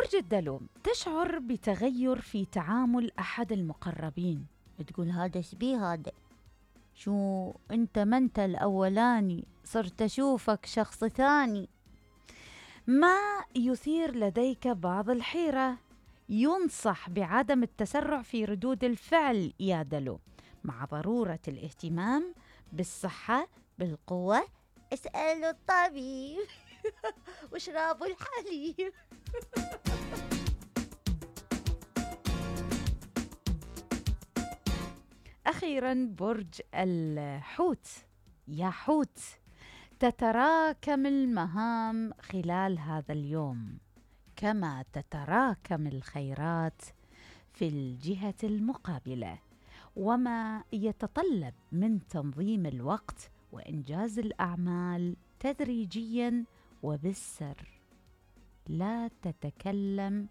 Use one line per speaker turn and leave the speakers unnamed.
برج الدلو، تشعر بتغير في تعامل أحد المقربين، تقول هذا شبيه هذا، شو أنت ما أنت الأولاني، صرت أشوفك شخص ثاني. ما يثير لديك بعض الحيرة، ينصح بعدم التسرع في ردود الفعل يا دلو، مع ضرورة الاهتمام بالصحة بالقوة. اسألوا الطبيب واشربوا الحليب. أخيراً برج الحوت، يا حوت، تتراكم المهام خلال هذا اليوم كما تتراكم الخيرات في الجهة المقابلة، وما يتطلب من تنظيم الوقت وإنجاز الأعمال تدريجياً وبالسر. لا تتكلم